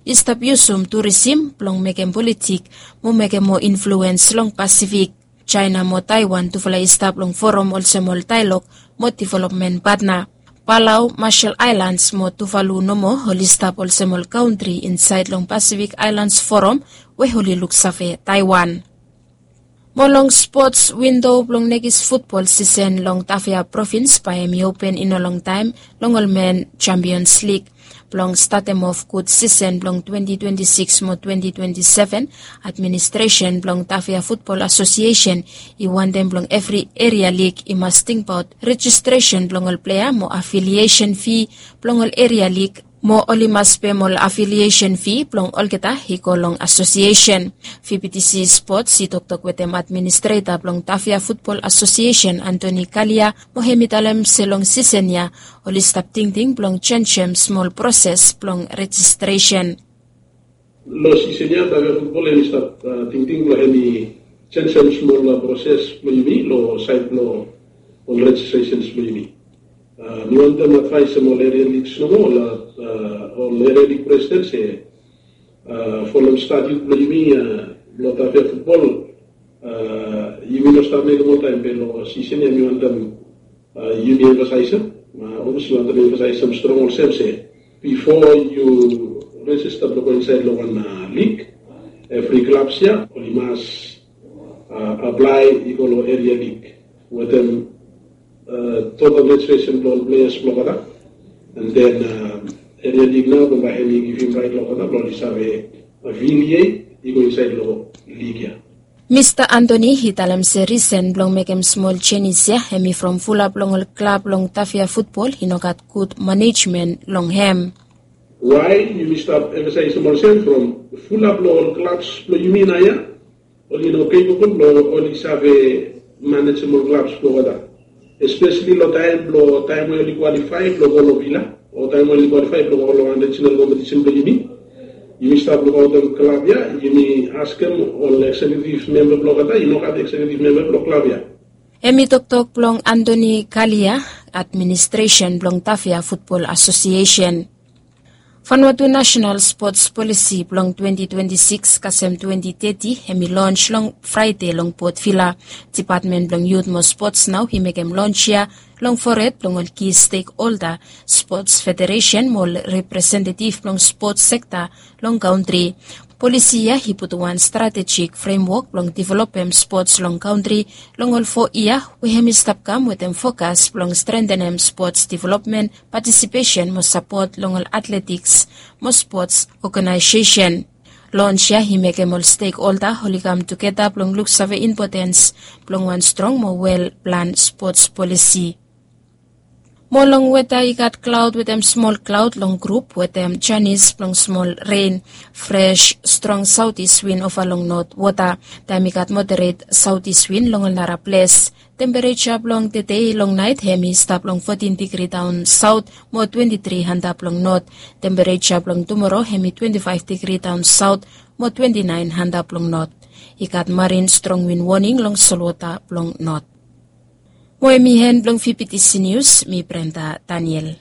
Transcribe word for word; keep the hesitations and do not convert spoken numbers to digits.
i stap yusum turisim blong mekem politik mo mekem moa influens long Pasifik. China mo Taiwan tufala i stap long forum olsem ol daelog mo developmen patna. Palau, Marshall Islands mo Tuvalu nomo oli stap olsem ol kantri insaed long Pasifik Aelans Forum we oli luksave Taiwan. Mo long spots, windo blong nekis futbol sisen long Tafea provins bae hem i open i no longtaem long ol men Champions Lig. Blong statem of gud sisen blong twenti twenti sikis mo twenti twenti seven, administresen blong Tafea Futbol Asosiesen i wantem blong evri eria lig i mas tingbaot rejistresen blong ol plea mo afiliesen fi blong ol eria lig, mo oli mas pem ol afiliesen fi blong olgeta i go long asosiesen. VBTC Spots i toktok wetem administreta blong Tafea Futbol Asosiesen Antoni Kalia mo hem i talem se long sisen ya oli stap tingting blong jenisim smol proses blong rejistresen. Long sisen ya Tafea Futbol hem i stap tingting blong hem i jenisim smol proses blong yumi long saed blong ol rejistresens blong yumi. Mi wantem advaesem ol eria ligs nomo, ol eria lig presiden se folem statut blong yumi long Tafea Futbol, yumi no stap mekem oltaem be long sisen ya mi wantem yumi emfasaesem. Olsem mi wantem emfasaesem strong olsem se bifo yu rejista blong go insaed long wan lig, evri klabs ya oli mas aplae i go long eria lig wetem total rejistresen blong ol pleas blong olgeta. And then eria lig nao blong bae hem i givim raet long olgeta blong oli save afiliet i go insaed long lig ya. Mista Antoni i talem se risen blong mekem smol jenis ya hem i from fulap long ol klab long Tafea Futbol i no gat gud manejmen long hem. Wae yumi stap emfasaesem olsem from fulap long ol klabs blong yumi naoia oli no kepabol blong oli save manejem ol klabs blong olgeta, espeseli long taem blong taem we oli kwalifae blong go long vila o taem we oli kwalifae blong go long wan rejinal kompetisen blong yumi. Yumi stap lukaotem klab ya, yumi askem ol eksekutif memba blong olgeta i no gat eksekutif memba blong klab ya. Hem i toktok blong Antoni Kalia, administresen blong Tafea Futbol Asosiesen. Vanuatu Nasenal Spots Polisi blong twenti twenti sikis kasem twenti teti hem i lons long Fraede long Port Vila. Dipatmen blong Yut mo Spots nao i mekem lons ya long fored blong ol ki stekholda, spots federesen mo ol representetif blong spots sekta long kantri. Polisi ya i putum wan stratejik fremwok blong developem spots long kantri long ol fo yia we hem i stap kam wetem fokas blong strentenem spots developmen, patisipesen mo sapot long ol atletiks mo spots oganaesesen. Lons ya i mekem ol stekholda oli kam tugeta blong luksave impotens blong wan strong mo wel plan spots polisi. Mo long weta i gat klaod wetem smol klaod long grup wetem janis blong smol ren, fres strong saotis win ova long not wota. Taem i gat moderet saotis win long ol nara ples. Tempereja blong tede long naet hem i stap long fotin digri daon saot mo twenti tri antap long not. Tempereja blong tumoro hem i twenti faef digri daon saot mo twenti naen antap long not. I gat marin strong win woning long solwota blong not. Mo hem i hen blong VBTC Nius, mi Brenda Daniel.